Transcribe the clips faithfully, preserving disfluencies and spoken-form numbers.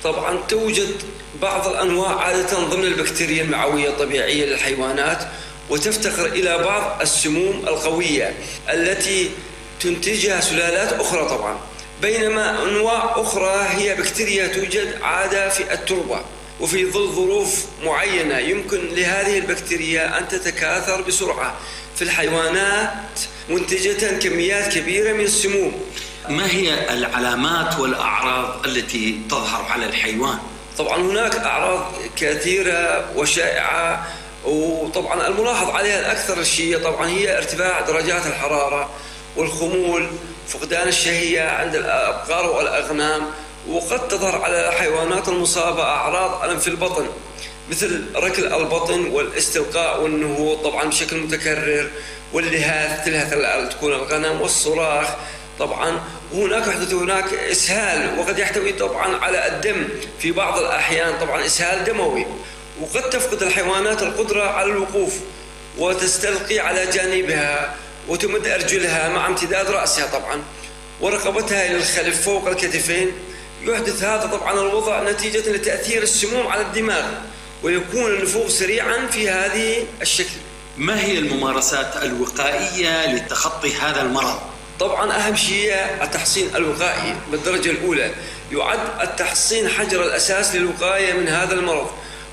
طبعا توجد بعض الأنواع عادة ضمن البكتيريا المعوية الطبيعية للحيوانات، وتفتقر إلى بعض السموم القوية التي تنتجها سلالات أخرى طبعا، بينما أنواع أخرى هي بكتيريا توجد عادة في التربة، وفي ظل ظروف معينة يمكن لهذه البكتيريا أن تتكاثر بسرعة في الحيوانات منتجة كميات كبيرة من السموم. ما هي العلامات والأعراض التي تظهر على الحيوان؟ طبعا هناك أعراض كثيرة وشائعة، وطبعا الملاحظ عليها الأكثر شيء طبعا هي ارتفاع درجات الحرارة والخمول، فقدان الشهية عند الأبقار والأغنام، وقد تظهر على الحيوانات المصابة أعراض ألم في البطن مثل ركل البطن والاستلقاء والنهوض طبعا بشكل متكرر، واللهاث تلهث تكون الغنم، والصراخ طبعا. وهناك يحدث هناك إسهال، وقد يحتوي طبعا على الدم في بعض الأحيان، طبعا إسهال دموي. وقد تفقد الحيوانات القدرة على الوقوف وتستلقي على جانبها وتمد أرجلها مع امتداد رأسها طبعا ورقبتها إلى الخلف فوق الكتفين. يحدث هذا طبعا الوضع نتيجة لتأثير السموم على الدماغ، ويكون النفوذ سريعا في هذه الشكل. ما هي الممارسات الوقائية لتخطي هذا المرض؟ طبعا أهم شيء التحصين الوقائي بالدرجة الأولى. يعد التحصين حجر الأساس للوقاية من هذا المرض،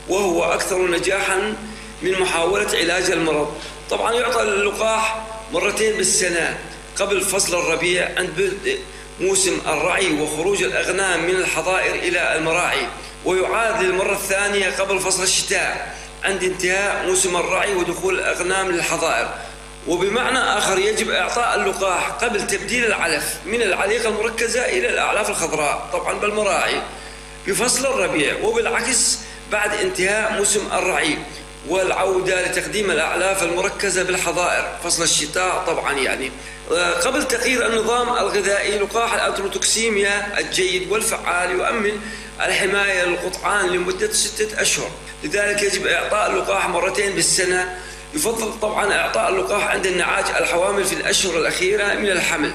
وهو أكثر نجاحا من محاولة علاج المرض. طبعا يعطى اللقاح مرتين بالسنة قبل فصل الربيع عند بدء موسم الرعي وخروج الأغنام من الحظائر إلى المراعي، ويعاد للمرة الثانية قبل فصل الشتاء عند انتهاء موسم الرعي ودخول الأغنام للحظائر. وبمعنى آخر يجب إعطاء اللقاح قبل تبديل العلف من العليقة المركزة إلى الأعلاف الخضراء طبعا بالمراعي بفصل الربيع، وبالعكس بعد انتهاء موسم الرعي والعودة لتقديم الأعلاف المركزة بالحظائر فصل الشتاء طبعا. يعني قبل تغيير النظام الغذائي، لقاح الأنتروتوكسيميا الجيد والفعال يؤمن الحماية للقطعان لمدة ستة أشهر، لذلك يجب إعطاء اللقاح مرتين بالسنة. يفضل طبعا إعطاء اللقاح عند النعاج الحوامل في الأشهر الأخيرة من الحمل.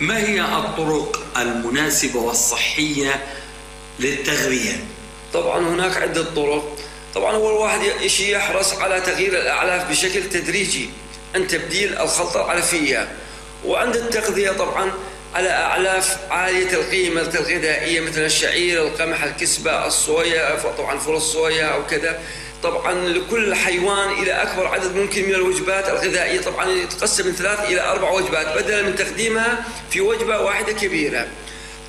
ما هي الطرق المناسبة والصحية للتغذية؟ طبعا هناك عدة طرق. طبعا أول واحد شيء يحرص على تغيير الأعلاف بشكل تدريجي عند تبديل الخلطة العلفية، وعند التغذية طبعا على أعلاف عالية القيمة الغذائية مثل الشعير، القمح، الكسبة، الصويا، طبعا فول الصويا أو كذا. طبعا لكل حيوان إلى أكبر عدد ممكن من الوجبات الغذائية، طبعا يتقسم من ثلاث إلى أربع وجبات بدلا من تقديمها في وجبة واحدة كبيرة.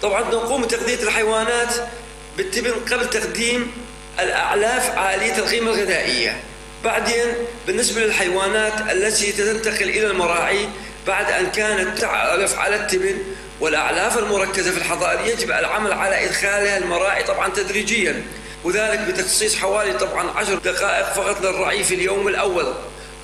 طبعا نقوم بتغذية الحيوانات بالتبن قبل تقديم الأعلاف عالية القيمة الغذائية. بعدين بالنسبة للحيوانات التي تنتقل إلى المراعي بعد أن كانت تعلف على التبن والأعلاف المركزة في الحظائر، يجب العمل على إدخالها المراعي طبعا تدريجيا، وذلك بتخصيص حوالي طبعا عشر دقائق فقط للرعي في اليوم الأول.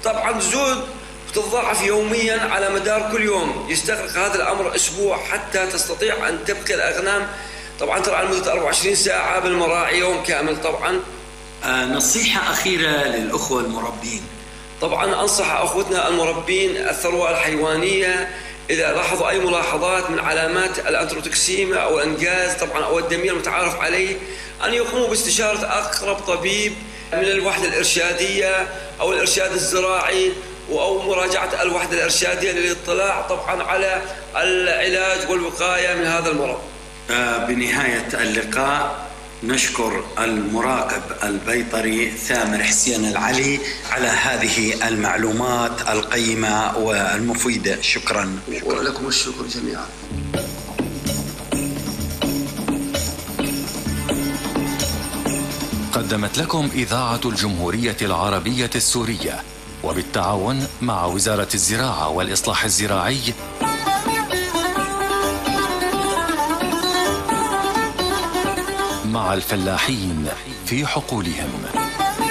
طبعا زود وتتضاعف يوميا على مدار كل يوم. يستغرق هذا الأمر أسبوع حتى تستطيع أن تبقي الأغنام طبعا ترعى لمدة أربعة وعشرين ساعة بالمراعي يوم كامل. طبعا آه نصيحة أخيرة للأخوة المربين. طبعا أنصح أخوتنا المربين الثروة الحيوانية إذا لاحظوا أي ملاحظات من علامات الأنتروتوكسيميا أو الإنجاز طبعا أو الدمية المتعارف عليه، أن يقوموا باستشارة أقرب طبيب من الوحدة الإرشادية أو الإرشاد الزراعي أو مراجعة الوحدة الإرشادية للاطلاع طبعا على العلاج والوقاية من هذا المرض. بنهاية اللقاء نشكر المراقب البيطري ثامر حسين العلي على هذه المعلومات القيمة والمفيدة. شكرا. ولكم الشكر جميعا. قدمت لكم إذاعة الجمهورية العربية السورية وبالتعاون مع وزارة الزراعة والإصلاح الزراعي مع الفلاحين في حقولهم.